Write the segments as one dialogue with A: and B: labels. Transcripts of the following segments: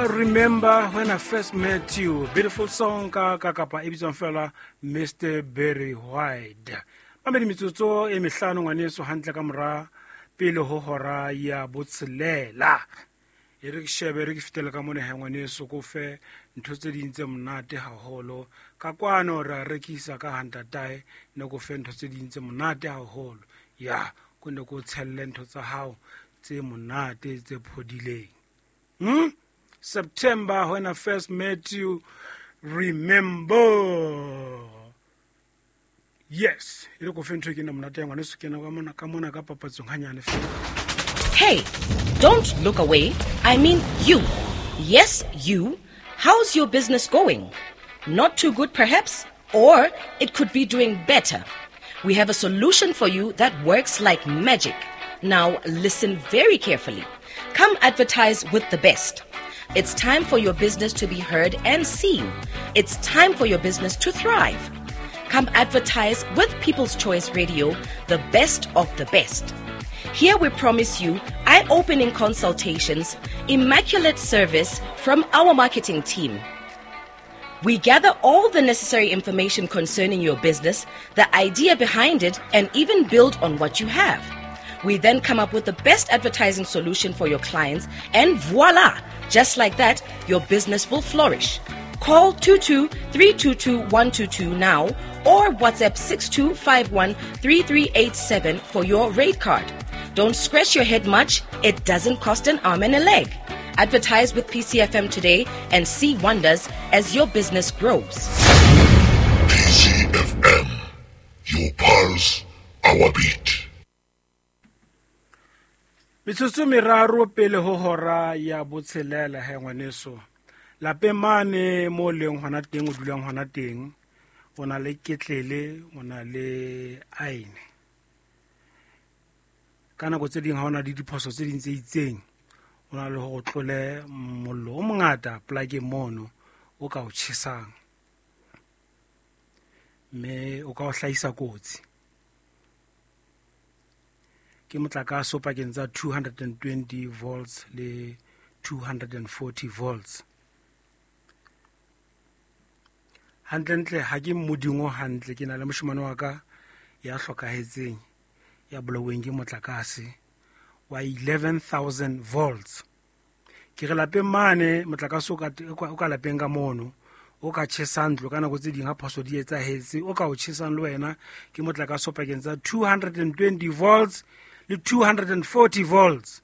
A: Remember When I First Met You, beautiful song ka ka kapa e bitswang fela Mr Barry White. Mamedi, metsotso e mehlano ngwaneso hantle ka mora pele ho hora ya botshelela. E re ke shebe, re ke fetele ka mona he ngwaneso, ko fe ntho tse ding tse monate haholo. Ka kwano ra rekisa ka hantatae, ne ko fe ntho tse ding tse monate haholo. Ya, ko ne ko tshelle ntho tsa hao tse monate tse phodileng. September, When I First Met You, Remember. Yes, e re ko fe ntho e ke na monate ya ngwaneso, ke na ka mona, ka mona ka papatsong hanyane fela.
B: Hey, don't look away. I mean you. Yes, you. How's your business going? Not too good, perhaps? Or it could be doing better. We have a solution for you that works like magic. Now, listen very carefully. Come advertise with the best. It's time for your business to be heard and seen. It's time for your business to thrive. Come advertise with People's Choice Radio, the best of the best. Here we promise you eye-opening consultations, immaculate service from our marketing team. We gather all the necessary information concerning your business, the idea behind it, and even build on what you have. We then come up with the best advertising solution for your clients, and voila! Just like that, your business will flourish. Call 22-322-122 now or WhatsApp 6251-3387 for your rate card. Don't scratch your head much. It doesn't cost an arm and a leg. Advertise with PCFM today and see wonders as your business grows.
C: PCFM, your pulse, our beat.
A: Metsotso meraro pele ho hora ya botshelela he ngwaneso. Lapeng mane mo leng hona teng, o dulang hona teng, o na le ketlele, o na le aene. Ka nako tse ding ha o na le diphoso tse ding tse itseng, o na le hore o tlole mollo o mongata plakeng mono o ka o tjhesang, mme o ka o hlahisa kotsi. Ke motlakase o pakeng tsa 220 volts le 240 volts. Hantlentle ha ke modimo hantle, ke na le moshemane wa ka ya hlokahetseng, ya bolauweng ke motlakase wa 11,000 volts. Ke re lapeng mane motlakase o ka lapeng ka mono, o ka tjhesang ntlo ka nako tse ding ha phoso di etsahetse, o ka o tjhesang le wena ke motlakase o pakeng tsa 220 volts le 240 volts.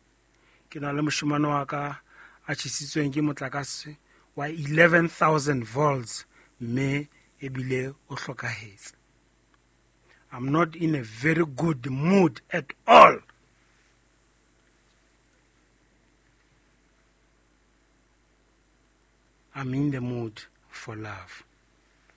A: Ke na le moshemane wa ka a tjhesitsweng ke motlakase wa 11,000 volts, mme ebile o hlokahetse. I'm not in a very good mood at all. I'm in the mood for love.